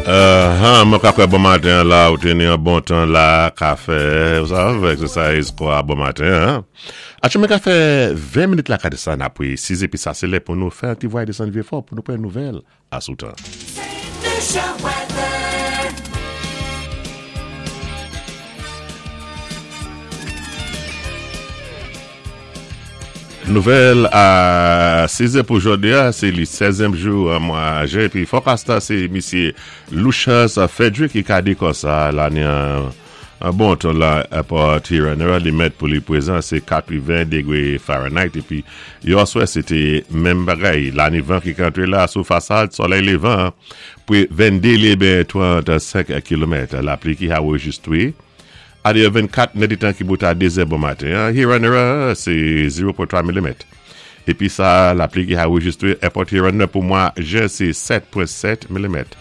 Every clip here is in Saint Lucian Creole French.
Mwen ka kwè bon maten la, ou té ni an bon tan la, ka fè, ou sav, exercise kwa bon maten an. Acho mwen ka fè 20 minit la ka desann apwé 6 épi sa sé lè pou nou fè an ti vway desann Vyé Fò pou nou pran nouvèl asou tan. Lucia weather. Nouvèl a 6 zè pou jodi a, se li 16èm jou an mwa jen epi forecast la se misye Lucius Frederick ki ka di konsa lane an an bon ton la Port Huron li mèt pou li prezan se 80 degre Fahrenheit epi yòswè se te menm bagay lane van ki ka antre la sou fasad solèy levan pre 22 li ben 35 kilomèt lapli ki anrejistre Adeyò 24 nèdtan ki bout a 2 zè bon maten an, Huron an se 0.3 milimèt. Epi sa lapli ki anrejistre Èpòt Huron nan pou mwa jen se 7.7 milimèt.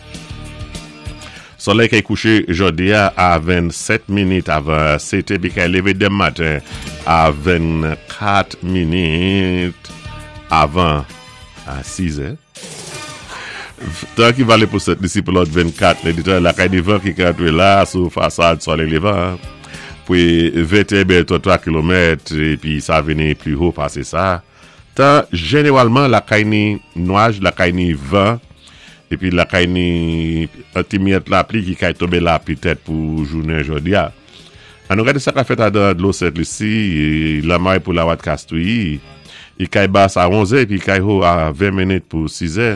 Solèy kay kouche jodi a a 27 minit avan 7 epi kay leve demen maten a 24 minit avan 6 zè. Tan ki vale pou Sent Lisi pou lòt 24 nèdtan lakay devan ki ka antre la sou fasad solèy levan pou 21 bè 33 kilomèt epi sa vini pli ho pase sa. Tan jeneralman lakay ni nwaj lakay ni van epi lakay ni ti miyèt lapli ki kay tonbe la petèt pou jounen jodi a. An nou gade sa ka fèt adan dlo Sent Lisi, lamay pou lawat Kastri, i kay bas a 11 è epi kay ho a 20 minit pou 6 è.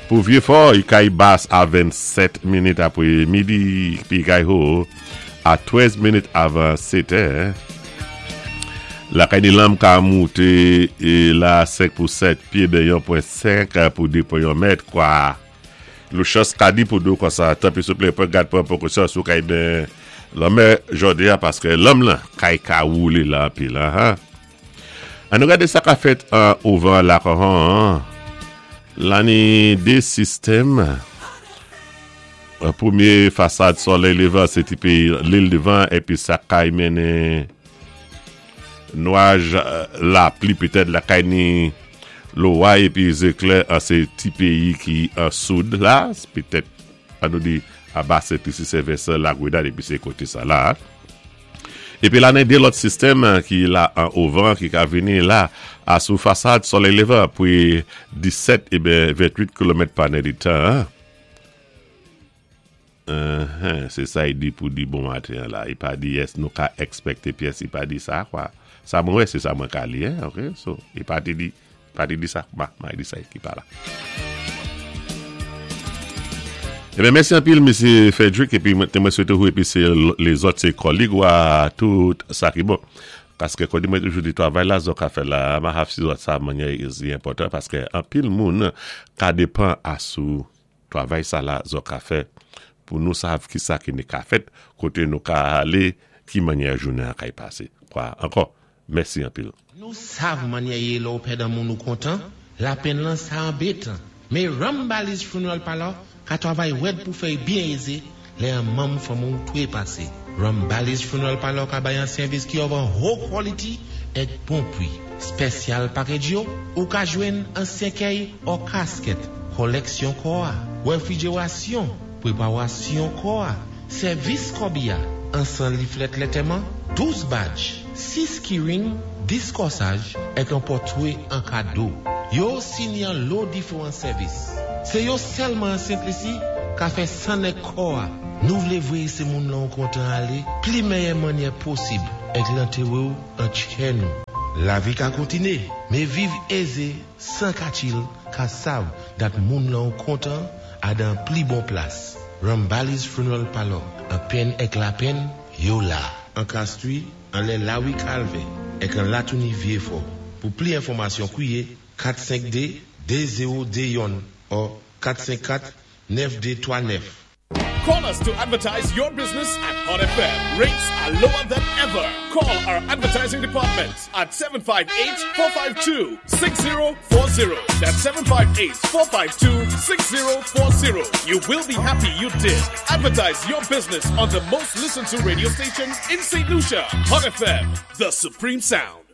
Pou Vye Fò, i kay bas a 27 minit apre midi epi kay ho a 13 minit avan 7 è. Lakay ni lanm ka moute la 5 pou 7 pye ben 1.5 pou 2.1 mèt kwa. Lucius ka di pou do konsa tanpri souple pran gad pran prekosyon si w kay ben lanmè jodi a paske lanm lan kay ka woule la anpil an an nou gade sa ka fèt an ouvan lakòhon an lani 2 sistèm premye fasad solèy levan se ti peyi lil devan epi sa kay mennen Nwaj lapli petèt lakay ni loray epi zeklè an se ti peyi ki an soud la petèt an nou di aba Sent Lisi Sen Vensan Lagrenad epi se kote sa la epi la nen 2 lòt sistèm ki la an ovan ki ka vini la a sou fasad solèy levan pre 17 eben 28 kilomèt pa nèdtan an. Uhmm se sa y di pou di bon maten an la i pa di yes nou ka expecte pyès i pa di sa kwa sa mwen wè se sa mwen ka li hein ok so i pa te di pa te di sa ma ma di sa ki pa la. Ebyen mèsi anpil mesye Frederick epi mwen te mwen swete ou epi se lezòt se kòlig ou a tout sa ki bon paske kòdi mwen toujou di travay la zò ka fè la ma haf si zòt sa manyè li enpòtan paske anpil moun ka depan a sou Travay sa la zò ka fè pou nou sav ki sa ki ne ka fèt, koté nou ka alé, ki mannyè jounen an kay pasé. Kwa ankò, mèsi anpil. Nou sav mannyè yé lè w pèdan moun ou kontan, lapenn lan sa anbetan. Mé Rambali's Funeral Parlor ka travay rèd pou fè y byen ézé lè an manm fanmi w twépasé. Rambali's Funeral Parlor ka bay an sèvis ki of an ho quality èk bon pwi. Spèsyal package yo, ou ka jwenn an sèkèy or casket, kòlèksyon kò a, wèfrijerasyon, prepawasyon kò a, sèvis kòbi a, ansan liflèt lètèman, 12 badj, 6 keyring, 10 kòsaj, èk an pòtwe an kado. Yo osi ni an lo diferan sèvis. Se yo sèlman an Sent Lisi ka fè nèg kò a. Nou vle vwe se moun lan ou kontan ale pli mèyè mannyè posib èk lantere w an tchè nou. Lavi ka kontine, me viv eze 100 katil ka sav dat moun lan ou kontan a dan pli bon plas. Rambali's Funeral Parlor, an penn èk lapenn, yo la. An Kastri, an lè Lawi Kalvè, èk an Latouni Vyefò. Pou pli enfòmasyon kwiye 452 2021 or 454 9239. Call us to advertise your business at Hot FM. Rates are lower than ever. Call our advertising department at 758-452-6040. That's 758-452-6040. You will be happy you did. Advertise your business on the most listened to radio station in St. Lucia. Hot FM, the supreme sound.